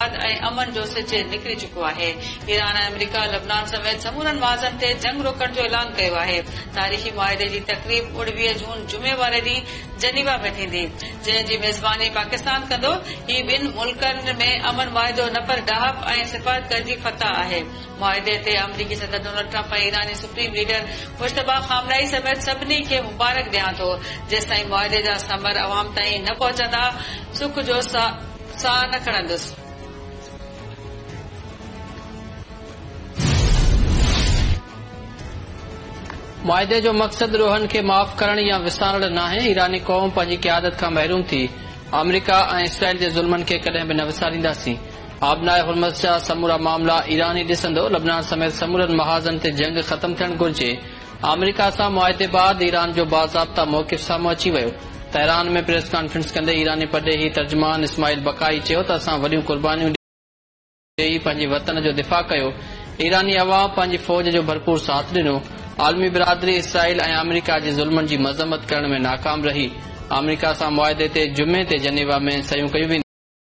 اتحاد ۽ امن جو سج نڪري چڪو آهي. ايران ۽ آمريڪا لبنان سميت سمورن محاذن تي جنگ روڪڻ جو اعلان ڪيو آهي. تاريخي معاهدي جي تقريب 29 جون جمعي واري ڏينهن جنيوا ۾ ٿيندي، جنهن جي ميزباني پاڪستان ڪندو. هي ٻن ملڪن ۾ امن معاهدو نه پر ڏاهپ ۽ سفارتڪاري جي فتح آهي. معاهدي تي آمريڪي صدر ڊونلڊ ٽرمپ ۽ ايراني سپريم ليڊر مجتبيٰ خامنائي سميت سڀني کي مبارڪ ڏيان ٿو. جيستائين معاهدي جا ثمر عوام تائين نه پهچندا، سک جو ساهه نه کڻندس. معاهدي جو مقصد ڏوهن کي معاف ڪرڻ يا وسارڻ ناهي، ايراني قوم پنهنجي قيادت کان محروم ٿي، آمريڪا ۽ اسرائيل جي ظلمن کي ڪڏهن به نه وسارينداسين، آبناء هرمز جا سمورا معاملا ايران ئي ڏسندو، لبنان سميت سمورن محاذن تي جنگ ختم ٿيڻ گهرجي، آمريڪا سان معاهدي بعد ايران جو باضابطا موقف سامهون اچي ويو. تهران ۾ پريس ڪانفرنس ڪندي ايراني پرڏيهي ترجمان اسماعيل بقائي چيو ته اسان وڏيون قربانيون ڏئي پنهنجي وطن جو دفاع ڪيو، ايراني عوام پنهنجي فوج جو ڀرپور ساٿ ڏنو، عالمي برادري اسرائيل ۽ آمريڪا جي ظلمن جي مذمت ڪرڻ ۾ ناڪام رهي، آمريڪا سان معاهدي تي جمعي تي جنيوا ۾ صحيحون ڪيون وينديون.